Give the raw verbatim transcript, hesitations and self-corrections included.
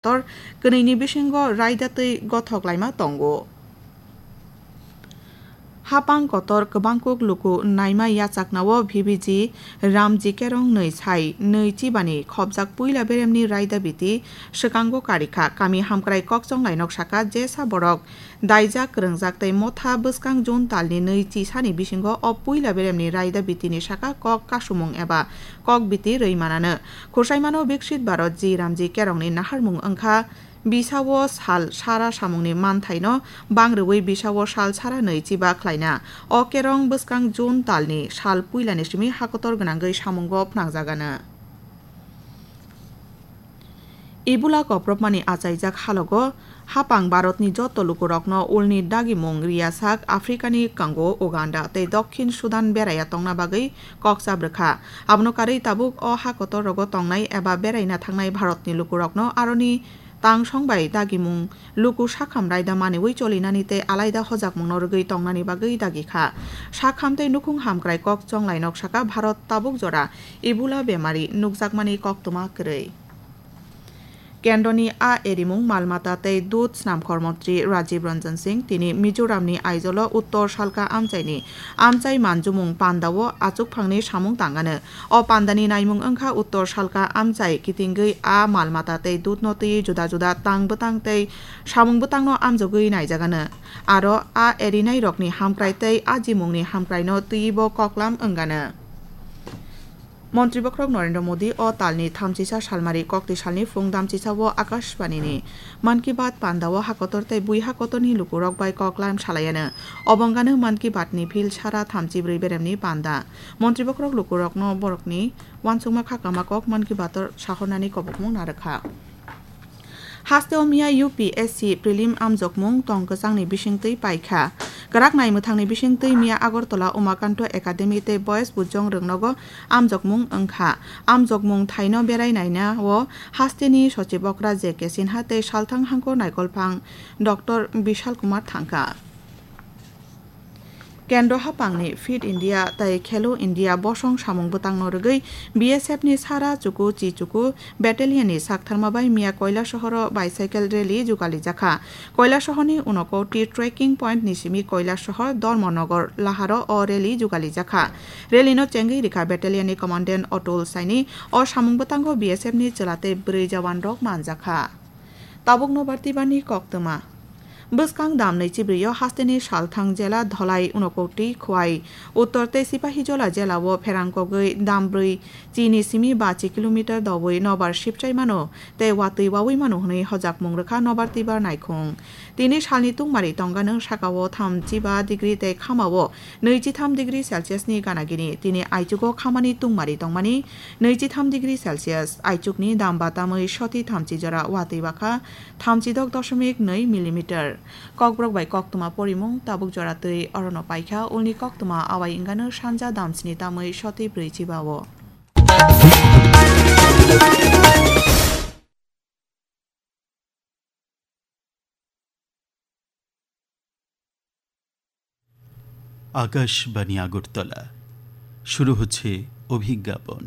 kotor kwnwini bisingo raida twi gothok laima tongo. Hapang kotor kwbangkuk luku naima yachaknao V B G Ramji Kerong nwi sai nwi chibani khopjak puila beremni raida biti swkango karikha. Kami hamkrai kokchonglai nok saka jesa borok daijak, kwrwngjak tei motha bwskang June talni nwi chisani bisingo o puila beremni raida bitini saka kok kasumung eba kok biti rwi manano. Khursaimano Viksit Bharat G Ramji Kerongni naharmung wngkha. Bisao sal sara samungni manthaino bang rwui bisao sal sara nwi chiba khlaina. O kerong bwskang June talni sal puilani simi hakotor gwnangwi samungo phnangjagano. Ebola koprobmani achaijak halogo hapang Bharatni joto lukurokno ulni dagimung riyasak Africani kango Uganda tei Dokhin Sudan beraiya tongna bagwi kok chabrwkha. Abono karwi tabuk o hakotor rogo tongnai eba beraina thangnai Bharatni lukurokno aroni tangsong bai dagimung luku sakham raida maniwi cholinani tei alaida hojakmungno rwgwi tongnani bagwi dagi kha. Sakham tei nukhung hamkrai kok chonglai nok saka Bharat tabuk jora Ebola bemari nukjakmani koktwma kwrwi. Kendroni a erimung malmata tei dud snamkhor montri Rajiv Ranjan Singh tini Mizoramni Aizawl-o Uttor Salka amchaini amchai manjumung pandao achukphangni samung tangano. O pandani naimung wngkha Uttor Salka amchai kitingwi a malmata tei dudno twiwi juda juda tang bwtang tei samung bwtangno amjogwi naijagano. Aro a erinairokni hamkrai tei ajimungni hamkraino twiwibo koklam wngano. Montri Bokhorok Narendra Modi o talni thamchisa salmari kokti salni phung damchisao Akashbanini Mann Ki Baat pandao hakotor tei bui hakotorni lukurok bai koklam salayano. Obongano Mann Ki Baatni phil sara thamchibrwi beremni panda. Montri Bokhorok lukurokno borokni uansukma khakama kok Mann Ki Baat-o sahornani kobokmung narwkha. Hasteo miya U P S C prelim amjokmung tong kwchangni bisingtwi paikha. Kwrak naimwthangni bisingtwi miya Agartala Umakanto Academy tei Boys Bujong Rwngnogo amjokmung wngkha. Amjokmung thaino berai nainao hasteni Sochib Okra J K Sinha tei Salthang Hangkor Naikolphang Doctor Bishal Kumar thangkha. Kendro hapangni Fit India tei Khelo India bosong samung bwtangno rwgwi B S F ni sara chuku chi chuku battalion ni saktharma bai miya Koilasohoro bicycle rally jugali jakha. Koilasohorni Unakoti trekking point ni simi Koilasohor Dharmanagar laharo o rally jugali jakha. Rally no chengwi rikha battalion ni commandant Atul Saini. O samung bwtango B S F ni chwla tei bwrwi jawan rok manjakha. Tabuk nobar tibani koktwma. Bwskang dam nwi chibrio hasteni Salthang jela Dholai Unakoti Khwai Uttor tei Sipahijola jela o pherang kogwi dam brwi chini simi bachi kilometer dowi nobar sipchai mano tei watwi wawi mano hwnwi hojakmung rwkha nobar tibar naikhung. Tini salni tungmari tongganw sakao thamchiba degree tei khamao nwichitham degree Celsius ni ganagini. Tini aichugo khamani tungmari tongmani nwichitham degree Celsius, aichukni dam batamwi soti thamchi jora watwi bakha thamchidok doshomik nwi millimeter. Kokborok bai koktwma porimung tabuk jora twi orono paikha, ulni koktwma awai wngano sanja damsni tamwi soti brwi chibao. Akashvani আগরতলা। শুরু হচ্ছে অভিজ্ঞাপন।